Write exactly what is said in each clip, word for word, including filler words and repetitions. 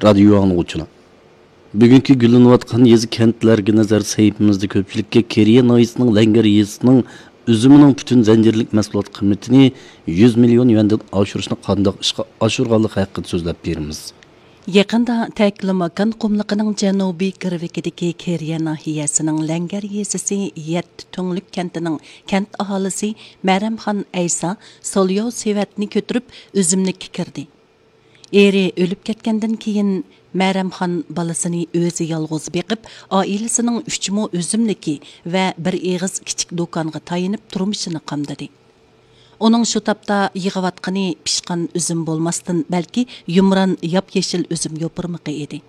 رادىيو ئاڭلىغۇچىلار، بۈگۈنكى گۈللىنىۋاتقان يېزا كەنتلەرگە نەزەر سەھىپىمىزدە كۆپچىلىككە كېرىيە ناھىيەسىنىڭ لەڭگەر يېزىسىنىڭ ئۈزۈمىنىڭ پۈتۈن زەنجىرلىك مەھسۇلات قىممىتىنى يۈز مىليون يۈەندىن ئاشۇرۇشنى قانداق ئىشقا ئاشۇرغانلىقى ھەققىدە سۆزلەپ بېرىمىز. يېقىندا تەكلىماكان قۇملۇقىنىڭ جەنۇبىي گىرۋىكىدىكى كېرىيە ناھىيەسىنىڭ لەڭگەر يېزىسى يەتتە تۈڭلۈك كەنتىنىڭ كەنت ئاھالىسى مەرەمخان ئەيسا سولياۋ سېۋەتنى كۆتۈرۈپ ئۈزۈملۈككە كىردى. ئېرى ئۆلۈپ كەتكەندىن كېيىن، مەرەمخان بالىسىنى ئۆزى يالغۇز بېقىپ، ئائىلىسىنىڭ ئۈچ مو ئۈزۈملۈكى ۋە بىر ئېغىز كىچىك دۇكانغا تايىنىپ تۇرمۇشىنى قامدىدى. ئۇنىڭ شۇ تاپتا يىغىۋاتقىنى پىشقان ئۈزۈم بولماستىن، بەلكى يۇمران ياپيېشىل ئۈزۈم يوپۇرمىقى ئىدى.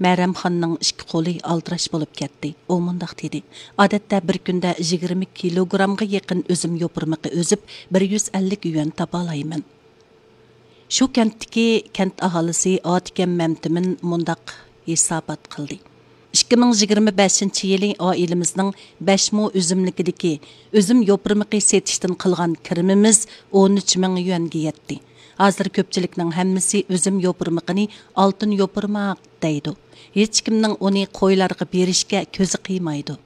مەرەمخاننىڭ ئىككى قولى ئالدىراش بولۇپ كەتتى. ئۇ مۇنداق دېدى: «ئادەتتە بىر كۈندە يىگىرمە كىلوگرامغا يېقىن ئۈزۈم يوپۇرمىقى ئۈزۈپ، بىر يۈز ئەللىك يۈەن تاپالايمەن.» شۇ كەنتتىكى كەنت ئاھالىسى ئاتىكەم مەمتىمىن مۇنداق ھېسابات قىلدى: «ئىككى مىڭ يىگىرمە بەشىنچى يىلى ئائىلىمىزنىڭ بەش مو ئۈزۈملۈكىدىكى ئۈزۈم يوپۇرمىقى سېتىشتىن قىلغان كىرىمىمىز ئون ئۈچ مىڭ يۈەنگە يەتتى. ھازىر كۆپچىلىكنىڭ ھەممىسى ئۈزۈم يوپۇرمىقىنى ئالتۇن يوپۇرماق دەيدۇ. ھېچكىمنىڭ ئۇنى قويلارغا بېرىشكە كۆزى قىيمايدۇ.»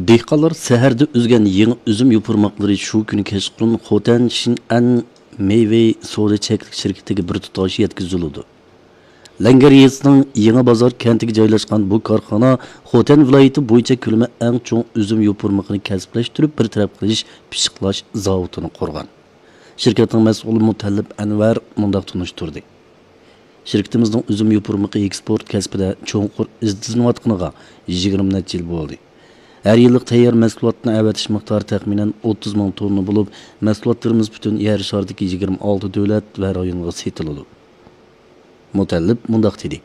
دېھقانلار سەھەردە ئۈزگەن يېڭى ئۈزۈم يوپۇرماقلىرى شۇ كۈنى كەچقۇرۇن خوتەن شىنئەن مېۋە سودا چەكلىك شىركىتىگە بىر تۇتاش يەتكۈزۈلىدۇ. لەڭگەر يېزىسىنىڭ يېڭى بازار كەنتىگە جايلاشقان بۇ كارخانا خوتەن ۋىلايىتى بويىچە كۆلىمى ئەڭ چوڭ ئۈزۈم يوپۇرمىقىنى كەسىپلەشتۈرۈپ، بىر تەرەپ قىلىش، پىششىقلاش زاۋۇتىنى قۇرغان. شىركەتنىڭ مەسئۇلى مۇتەللىپ ئەنۋەر مۇنداق تونۇشتۇردى: «شىركىتىمىزنىڭ ئۈزۈم يوپۇرمىقى ئېكسپورت كەسپىدە چوڭقۇر ئىزدىنىۋاتقىنىغا يىگىرمە نەچچە يىل بولدى. ھەر يىللىق تەييار مەھسۇلاتنى ئەۋەتىش مىقدارى تەخمىنەن ئوتتۇز مىڭ توننا بولۇپ، مەھسۇلاتلىرىمىز پۈتۈن يەر شارىدىكى يىگىرمە ئالتە دۆلەت ۋە رايونغا سېتىلىدۇ.» مۇتەللىپ مۇنداق دېدى: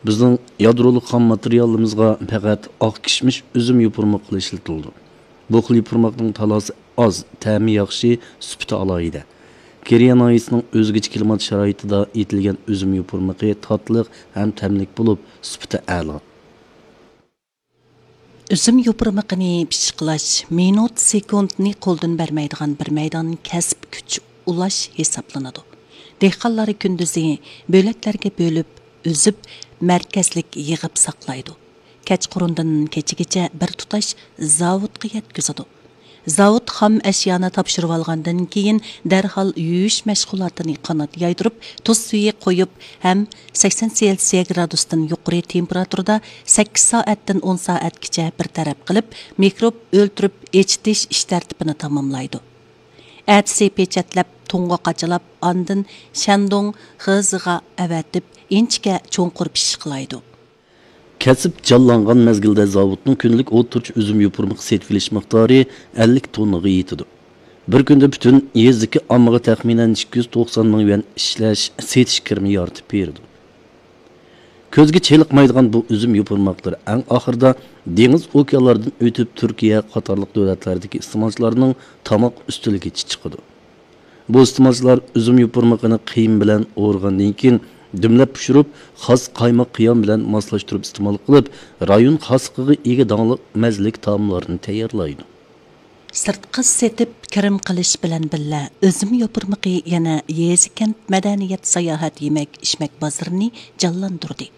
«بىزنىڭ يادرولۇق خام ماتېرىيالىمىزغا پەقەت ئاق كىشمىش ئۈزۈم يوپۇرمىقى ئىشلىتىلىدۇ. بۇ خىل يوپۇرماقنىڭ تالاسى ئاز، تەمى ياخشى، سۈپىتى ئالاھىدە. كېرىيە ناھىيەسىنىڭ ئۆزگىچە كىلىمات شارائىتىدا ئېتىلگەن ئۈزۈم يوپۇرمىقى تاتلىق ھەم تەملىك بولۇپ، سۈپىتى ئەلا.» ئۈزۈم يوپۇرمىقىنى پىششىقلاش مىنۇت، سېكۇنتنى قولدىن بەرمەيدىغان بىر مەيدان كەسىپ، كۈچ ئۇلاش ھېسابلىنىدۇ. دېھقانلار كۈندۈزى بۆلەكلەرگە بۆلۈپ، ئۈزۈپ، مەركەزلىك يىغىپ ساقلايدۇ. كەچقۇرۇندىن كېچىگىچە بىر تۇتاش زاۋۇتقا يەتكۈزىدۇ. زاۋۇت خام ئەشيانى تاپشۇرۇۋالغاندىن كېيىن، دەرھال يۇيۇش مەشغۇلاتىنى قانات يايدۇرۇپ، تۇز سۈيى قويۇپ ھەم سەكسەن سېلسىيە گرادۇستىن يۇقىرى تېمپېراتۇرىدا سەككىز سائەتتىن ئون سائەتكىچە بىر تەرەپ قىلىپ، مىكروب ئۆلتۈرۈپ ئېچىتىش ئىش تەرتىپىنى تاماملايدۇ. ئەتىسى پېچەتلەپ، تۇڭغا قاچىلاپ، ئاندىن شەندۇڭ خېزىغا ئەۋەتىپ، ئىنچىكە چوڭقۇر پىششىقلايدۇ. كەسىپ جانلانغان مەزگىلدە زاۋۇتنىڭ كۈندىلىك ئوتتۇرىچە ئۈزۈم يوپۇرمىقى سېتىۋېلىش مىقدارى ئەللىك توننىغا يېتىدۇ. بىر كۈندە پۈتۈن يېزىدىكى ئاممىغا تەخمىنەن ئىككى يۈز توقسان مىڭ يۈەن ئىشلەش، سېتىش كىرىمى يارىتىپ بېرىدۇ. كۆزگە چېلىقمايدىغان بۇ ئۈزۈم يوپۇرماقلىرى ئەڭ ئاخىرىدا دېڭىز، ئوكيانلاردىن ئۆتۈپ، تۈركىيە قاتارلىق دۆلەتلەردىكى ئىستېمالچىلارنىڭ تاماق ئۈستىلىگىچە چىقىدۇ. بۇ ئىستېمالچىلار ئۈزۈم يوپۇرمىقىنى قىيما بىلەن ئورىغاندىن كېيىن، دۈملەپ پىشۇرۇپ، خاس قايماق قىيام بىلەن ماسلاشتۇرۇپ ئىستېمال قىلىپ، رايون خاسلىقىغا ئىگە داڭلىق مەززىلىك تائاملارنى تەييارلايدۇ. سىرتقا سېتىپ كىرىم قىلىش بىلەن بىللە، ئۈزۈم يوپۇرمىقى يەنە يېزا، كەنت، مەدەنىيەت، ساياھەت، يېمەك، ئىچمەك بازىرىنى جانلاندۇردى.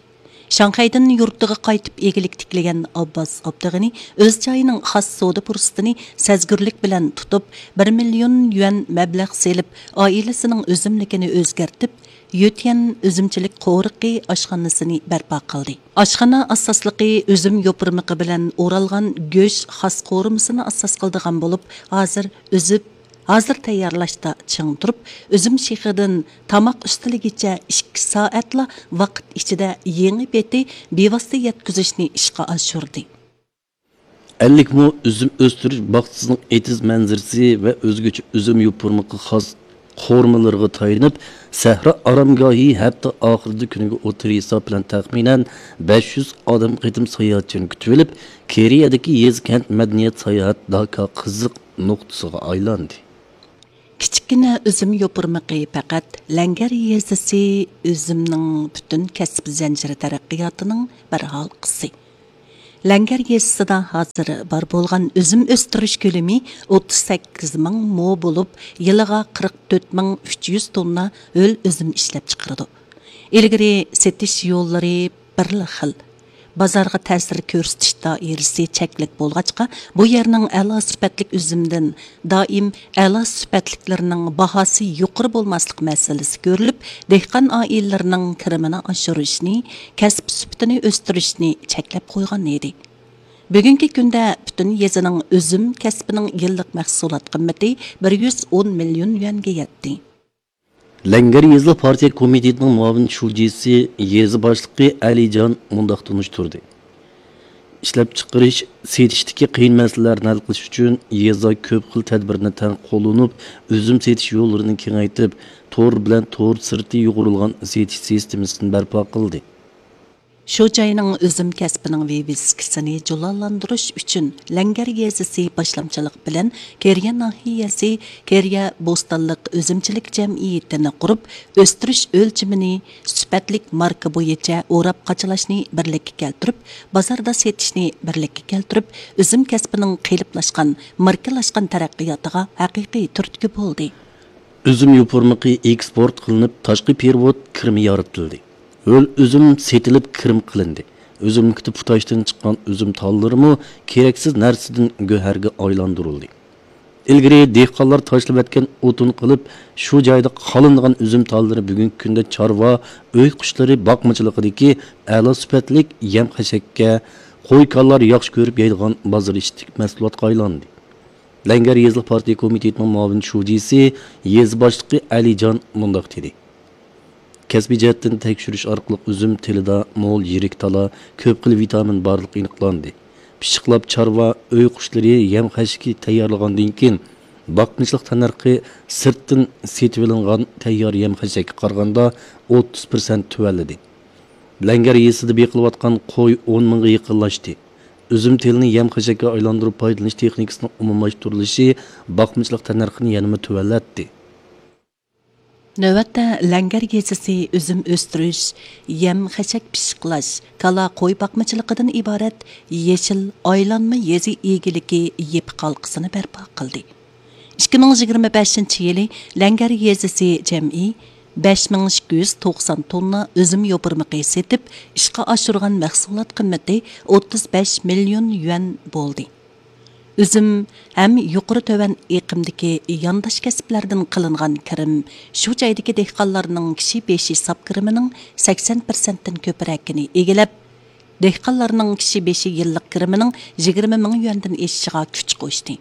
شاڭخەيدىن يۇرتىغا قايتىپ ئىگىلىك تىكلىگەن ئابباس ئابدۇغېنى ئۆز جايىنىڭ خاس سودا پۇرسىتىنى سەزگۈرلۈك بىلەن تۇتۇپ، بىر مىليون يۈەن مەبلەغ سېلىپ، ئائىلىسىنىڭ ئۈزۈملۈكىنى ئۆزگەرتىپ، يۆتيەن ئۈزۈمچىلىك قورۇقى ئاشخانىسىنى بەرپا قىلدى. ئاشخانا ئاساسلىقى ئۈزۈم يوپۇرمىقى بىلەن ئورالغان گۆش خاس قورۇمىسىنى ئاساس قىلىدىغان بولۇپ، ھازىر ئۈزۈپ، ھازىر تەييارلاشتا چىڭ تۇرۇپ، ئۈزۈم شېخىدىن تاماق ئۈستىلىگىچە ئىككى سائەتلا ۋاقىت ئىچىدە يېڭى پېتى بىۋاسىتە يەتكۈزۈشنى ئىشقا ئاشۇردى. ئەللىك مو ئۈزۈم ئۆستۈرۈش باغچىسىنىڭ ئېتىز مەنزىرىسى ۋە ئۆزگىچە ئۈزۈم يوپۇرمىقى خاس قورۇمىلىرىغا تايىنىپ، سەھرا ئارامگاھى ھەپتە ئاخىرىدا كۈنىگە ئوتتۇرا ھېساب بىلەن تەخمىنەن بەش يۈز ئادەم قېتىم ساياھەتچىنى كۈتۈۋېلىپ، كېرىيەدىكى يېزا، كەنت، مەدەنىيەت، ساياھەت داكا قىزىق نۇقتىسىغا ئايلاندى. كىچىككىنە ئۈزۈم يوپۇرمىقى پەقەت لەڭگەر يېزىسى ئۈزۈمنىڭ پۈتۈن كەسىپ زەنجىرى تەرەققىياتىنىڭ بىر ھالقىسى. لەڭگەر يېزىسىدا ھازىر بار بولغان ئۈزۈم ئۆستۈرۈش كۆلىمى ئوتتۇز سەككىز مىڭ مو بولۇپ، يىلىغا قىرىق تۆت مىڭ ئۈچ يۈز توننا ھۆل ئۈزۈم ئىشلەپچىقىرىدۇ. ئىلگىرى سېتىش يوللىرى بىرلا خىل، بازارغا تەسىر كۆرسىتىش دائىرىسى چەكلىك بولغاچقا، بۇ يەرنىڭ ئەلا سۈپەتلىك ئۈزۈمدىن دائىم ئەلا سۈپەتلىكلىرىنىڭ باھاسى يۇقىرى بولماسلىق مەسىلىسى كۆرۈلۈپ، دېھقان ئائىلىلىرىنىڭ كىرىمىنى ئاشۇرۇشنى، كەسىپ سۈپىتىنى ئۆستۈرۈشنى چەكلەپ قويغان ئىدى. بۈگۈنكى كۈندە پۈتۈن يېزىنىڭ ئۈزۈم كەسپىنىڭ يىللىق مەھسۇلات قىممىتى بىر يۈز ئون مىليون يۈەنگە يەتتى. لەڭگەر يېزىلىق پارتىيە كومىتېتىنىڭ مۇئاۋىن شۇجىسى، يېزا باشلىقى ئەلىجان مۇنداق تونۇشتۇردى: ئىشلەپچىقىرىش، سېتىشتىكى قىيىن مەسىلىلەرنى ھەل قىلىش ئۈچۈن يېزا كۆپ خىل تەدبىرنى تەڭ قوللىنىپ، ئۈزۈم سېتىش يوللىرىنى كېڭەيتىپ، تور بىلەن تور سىرتى يۇغۇرۇلغان سېتىش سىستېمىسىنى بەرپا قىلدى. شۇ جاينىڭ ئۈزۈم كەسپىنىڭ ۋىۋىسكىسىنى جۇلالاندۇرۇش ئۈچۈن، لەڭگەر يېزىسى باشلامچىلىق بىلەن كېرىيە ناھىيەسى كېرىيە بوستانلىق ئۈزۈمچىلىك جەمئىيىتىنى قۇرۇپ، ئۆستۈرۈش ئۆلچىمىنى، سۈپەتلىك ماركا بويىچە ئوراپ قاچىلاشنى بىرلىككە كەلتۈرۈپ، بازاردا سېتىشنى بىرلىككە كەلتۈرۈپ، ئۈزۈم كەسپىنىڭ قېلىپلاشقان، ماركىلاشقان تەرەققىياتىغا ھەقىقىي تۈرتكە بولدى. ئۈزۈم يوپۇرمىقى ئېكسپورت قىلىنىپ، تاشقى پېرېۋوت كىرىمى يارىتىلدى. ھۆل ئۈزۈم سېتىلىپ، كىرىم قىلىندى. ئۈزۈملۈكتە پۇتاشتىن چىققان ئۈزۈم تاللىرىمۇ كېرەكسىز نەرسىدىن گۆھەرگە ئايلاندۇرۇلدى. ئىلگىرى دېھقانلار تاشلىۋەتكەن ئوتۇن قىلىپ، شۇ جايدا قالىنىدىغان ئۈزۈم تاللىرى بۈگۈنكى كۈندە چارۋا، ئۆي قۇشلىرى باقمىچىلىقىدىكى ئەلا سۈپەتلىك يەم خەشەككە، قوي-كانلار ياخشى كۆرۈپ يەيدىغان بازار ئىشلىك مەھسۇلاتقا ئايلاندى. لەڭگەر يېزىلىق پارتىيە كومىتېتىنىڭ مۇئاۋىن شۇجىسى، يېزا باشلىقى ئەلىجان مۇنداق دېدى: كەسپىي جەھەتتىن تەكشۈرۈش ئارقىلىق ئۈزۈم تېلىدا مول يىرىك تالا، كۆپ خىل ۋىتامىن بارلىقى ئېنىقلاندى. پىششىقلاپ چارۋا، ئۆي قۇشلىرى يەم خەشىكى تەييارلىغاندىن كېيىن، باقمىچىلىق تەننەرخى سىرتتىن سېتىۋېلىنغان تەييار يەم خەشەككە قارىغاندا ئوتتۇز پىرسەنت تۆۋەنلىدى. لەڭگەر يېزىسىدا بېقىلىۋاتقان قوي ئون مىڭغا يېقىنلاشتى. ئۈزۈم تېلىنى يەم خەشەككە ئايلاندۇرۇپ پايدىلىنىش تېخنىكىسىنىڭ ئومۇملاشتۇرۇلۇشى باقمىچىلىق تەننەرخىنى يەنىمۇ تۆۋەنلەتتى. نۆۋەتتە لەڭگەر يېزىسى ئۈزۈم ئۆستۈرۈش، يەم خەشەك پىششىقلاش، كالا، قوي باقمىچىلىقىدىن ئىبارەت يېشىل ئايلانما يېزا ئىگىلىكى يېپىق ھالقىسىنى بەرپا قىلدى. ئىككى مىڭ يىگىرمە بەشىنچى يىلى لەڭگەر يېزىسى جەمئىي بەش مىڭ ئىككى يۈز توقسان توننا ئۈزۈم يوپۇرمىقى سېتىپ، ئىشقا ئاشۇرغان مەھسۇلات قىممىتى ئوتتۇز بەش مىليون يۈەن بولدى. ئۈزۈم ھەم يۇقىرى تۆۋەن ئېقىمدىكى يانداش كەسىپلەردىن قىلىنغان كىرىم شۇ جايدىكى دېھقانلارنىڭ كىشى بېشى ساپ كىرىمىنىڭ سەكسەن پىرسەنتتىن كۆپرەكىنى ئىگىلەپ، دېھقانلارنىڭ كىشى بېشى يىللىق كىرىمىنىڭ يىگىرمە مىڭ يۈەندىن ئېشىشىغا كۈچ قوشتى.